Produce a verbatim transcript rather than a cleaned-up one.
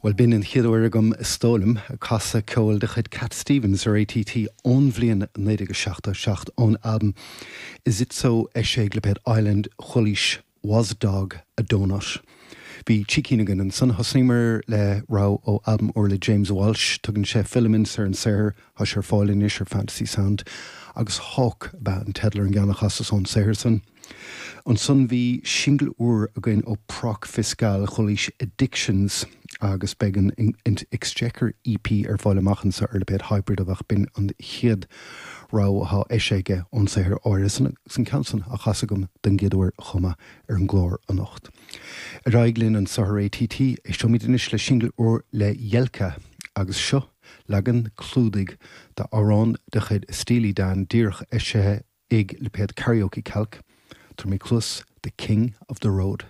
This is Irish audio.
Well b'in an chéad uair agam is dóigh liom ag casadh ceol de chuid Cat Stevens ar ATT ón bhliain naoi déag seachtó seacht ón albam Is It So eisithe ag lipéad Island Chualaís Was a Dog a Donut. Bhí trí cinn againn ansan thosnaíomar le rogha ó albam úr le James Walsh, tugann sé Filaments ar an saothar tá sé ar fáil anois ar Fantasy Sound, agus Hawk ba an teideal ar an gceann a chasas ón saothar san. Ansan bhí singil úr againn ó Proc Fiscal Chualaís Addictions agus beidh an Exchequer EP ar fáil amach anseo ar lipéad Hybrid a bheadh b'in an chéad rogha atá eisithe aige ón saothar áirithe san san ceann san a chas agam den gcéad uair chomh maith ar an gclár anocht. Ar aghaidh linn anseo ar ATT éisteoimid anois le singil úr le Jelka agus seo leagan clúdaigh d'amhrán de chuid Steely Dan díreach eisithe ag lipéad Karaoke Calc. Tabhair cluas The King of the Road.